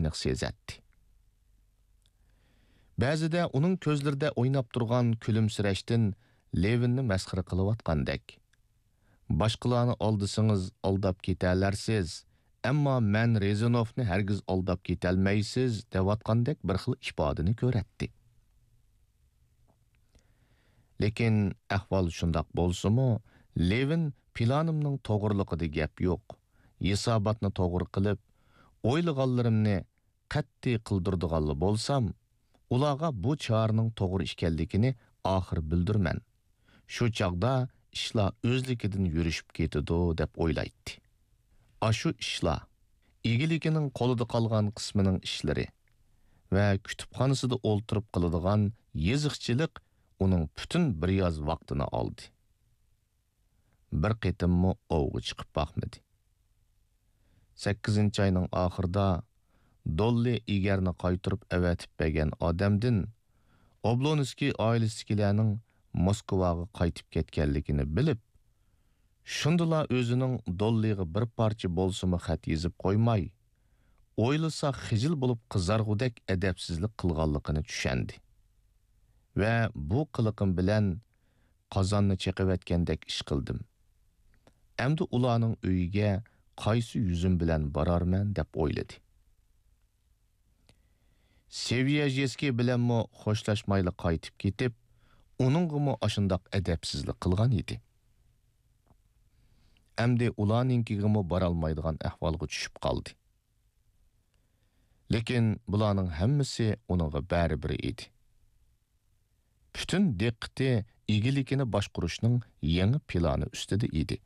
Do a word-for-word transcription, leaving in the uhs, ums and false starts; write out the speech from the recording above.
ئېنىق سېزەتتى. بەزىدە ئۇنىڭ كۆزلىرىدە ئويناپ تۇرغان كۈلۈمسىرەشتىن لېۋىننى مەسخىرە قىلىۋاتقاندەك. «باشقىلارنى ئالدىسىڭىز ئالداپ كېتەلەرسىز، ئەمما مەن رېزىنوفنى ھەرگىز ئالداپ كېتەلمەيسىز» دەۋاتقاندەك بىر خىل ئىپادىنى كۆرەتتى. لېكىن ئەھۋال شۇنداق بولسىمۇ، لېۋىن پىلانىمنىڭ توغرىلىقىدا گەپ يوق. ھېساباتنى توغرا قىلىپ، ئويلىغانلىرىمنى قەتئىي قىلدۇرىدىغانلا بولسام، ئۇلارغا بۇ چارىنىڭ توغرا ئىكەنلىكىنى ئاخىر بىلدۈرىمەن. شۇ چاغدا ئىشلار ئۆزلۈكىدىن يۈرۈشۈپ كېتىدۇ، دەپ ئويلايتتى. ئاشۇ ئىشلار، ئىگىلىكىنىڭ قولىدا قالغان قىسمىنىڭ ئىشلىرى ۋە كۇتۇپخانىسىدا ئولتۇرۇپ قىلىدىغان يېزىقچىلىق ئۇنىڭ پۈتۈن بىر ياز ۋاقتىنى ئالدى. بىر قېتىممۇ ئوۋغا چىقىپ باقمىدى. سەككىزىنچى ئاينىڭ ئاخىرىدا دوللى ئېگەرنى قايتۇرۇپ ئەۋەتىپ بەرگەن ئادەمدىن ئوبلونسكىي ئائىلىسىدىكىلەرنىڭ موسكۋاغا قايتىپ كەتكەنلىكىنى بىلىپ، شۇندىلا ئۆزىنىڭ دوللىغا بىر پارچە بولسىمۇ خەت يېزىپ قويماي، ئويلىسا خىجىل بولۇپ قىزارغۇدەك ئەدەپسىزلىك قىلغانلىقىنى چۈشەندى ۋە «بۇ قىلىقىم بىلەن قازاننى چېقىۋەتكەندەك ئىش قىلدىم. ئەمدى ئۇلارنىڭ ئۆيىگە قايسى يۈزۈم بىلەن بارارمەن؟» دەپ ئويلىدى. سېۋيەژېسكىي بىلەنمۇ خوشلاشمايلا قايتىپ كېتىپ، ئۇنىڭغىمۇ ئاشۇنداق ئەدەپسىزلىك قىلغان ئىدى. ئەمدى ئۇلارنىڭكىگىمۇ بارالمايدىغان ئەھۋالغا چۈشۈپ قالدى. لېكىن بۇلارنىڭ ھەممىسى ئۇنىڭغا بەرىبىر ئىدى. پۈتۈن دىققىتى ئىگىلىكىنى باشقۇرۇشنىڭ يېڭى پىلانى ئۈستىدە ئىدى.